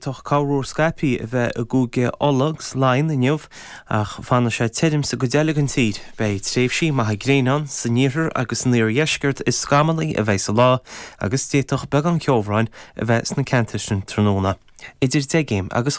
D'fhéadfadh corruair scaipthe a bheith i gCúige Uladh agus Laighean inniu ach fanfaidh sé tirim sa gcuid eile den tír. Beidh tréimhsí maithe gréine ann san iarthar agus san iardheisceart is scamallach a bheidh sa lá agus d'fhéadfadh beagán ceobhráin a bheith sna ceantair sin tráthnóna. Idir 10 gcéim agus.